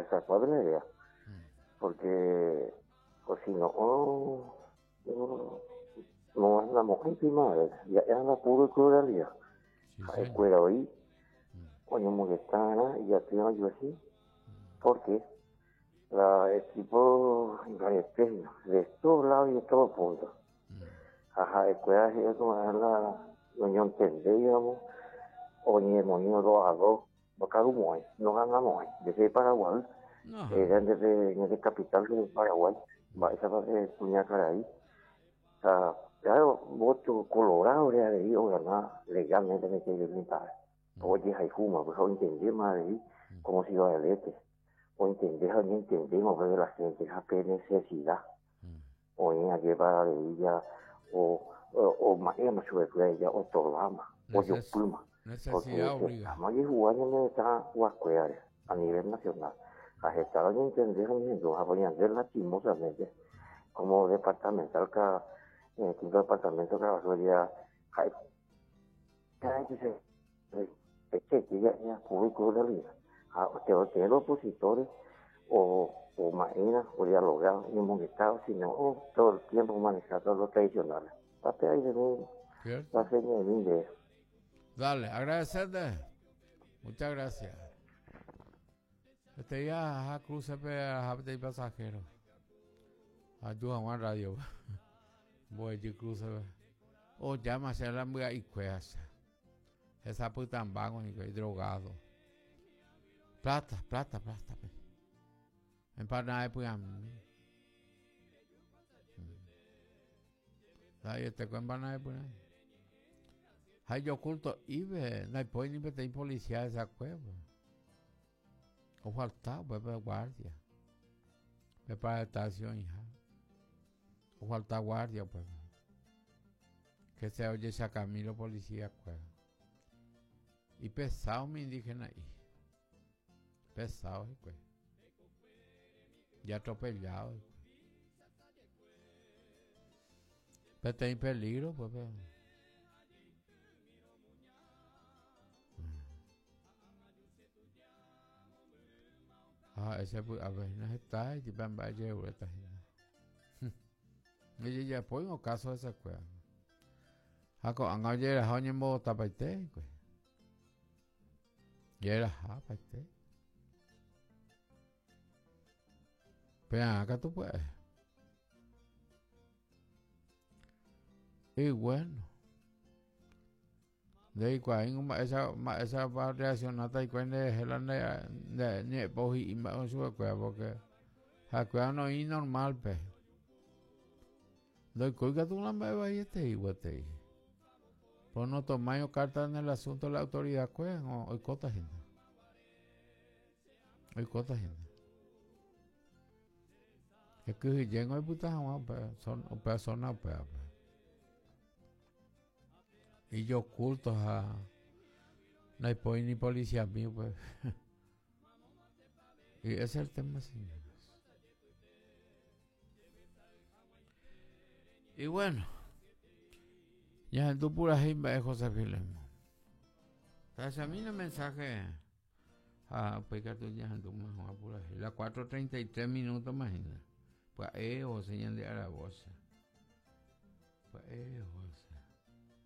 Esa cuál es la idea. Porque, o si no, oh, no, no andamos encima, ya anda puro pluralidad. Sí, señor. Ha'ekuéra oĩ oñomongeta'arã ijaty ojuehe porque la equipo imbarete hína de todos lados y de todos puntos. Ha ha'ekuéra he'i ko'ã la noñontendéiramo oñemoĩrõ dos a dos ndokarumo'ãi, noganamo'ãi. Ndéche Paraguay, era ñande capital de Paraguay, mba'éichapa pe kuñakarai ha claro voto colorado re avei ogana legalmente peteĩ ojehayhúma ha ointendéma avei como ciudad del Este, ointende ha oñentendéma upe de la gente ha pe necesidad oĩ ajépa avei ja oma'ẽma chupekuéra ja otorváma, ojopýma, porque hetáma ojehuga ñane retã guakuérare a nivel nacional ha heta oñentende ha oñehendu ha ñande lastimosamente como departamental quinto departamento Caaguazú ja ha'e Tener opositores o, o maína o dialogar ñomongeta o si no todo el tiempo manejar todos los tradicionales. Tate ahí de mí, ¿Cierto? la seña de mí de Dale, agradecerte. Muchas gracias. Este día, ajá, cruce ajá, de pasajero. Ayuda Juan Radio. Voy a cruce. O llama a la mbya'ikuéacha. Hesapytãmbáko hikuái drogado. Plata, plata, plata. Pe. Empanada py'ami. Nda'aietéko empanada py'ami. Ha ijokulto'ípe ndaipói ni peteĩ policía hesakuépe. Ofalta upépe guardia. Pe para oĩha. Ofalta guardia upépe. Que sea ojechakami los policía kuéra. Ipesado umi indígena'i. Pesado hikuái. Ya atropellado hikuái. Peteĩ peligro upépe. Ha ha'e che py'ápe hína heta jepe mba'e jeruréta hína. Ndojejapóingo káso hesekuéra. Ha ko'ág̃a ojeraha oñembovotapaite hikuái. Jerahapaite. Pe'ã katu pya'e. Y bueno. Ndeikuaáingo mba'éichapa reaccionáta hikuái nderehe la nde ñe'ẽpohy'i mba'e chupekuéra pórke ha'ekuéra noĩri normálpe. Ndoikói katu la mba'e vaietei gueteri. Por notomáirõ kárta en el asunto la autoridakuéra oikóta hína. Oikóta hína. Ekyhyjéngo oipyta hag̃ua upéva zona upévape. Ijoculto ha ndaipói ni policiami upépe. Y ese es el tema, señores. Y bueno, ñahendu purahéi mba'e José Filemón. Tahechamína mensaje ha upéi katu ñahendúma hag̃ua purahéi. La 4:33 minutos más hína. Pya'e ohose ñande aravosa. Pya'e oho.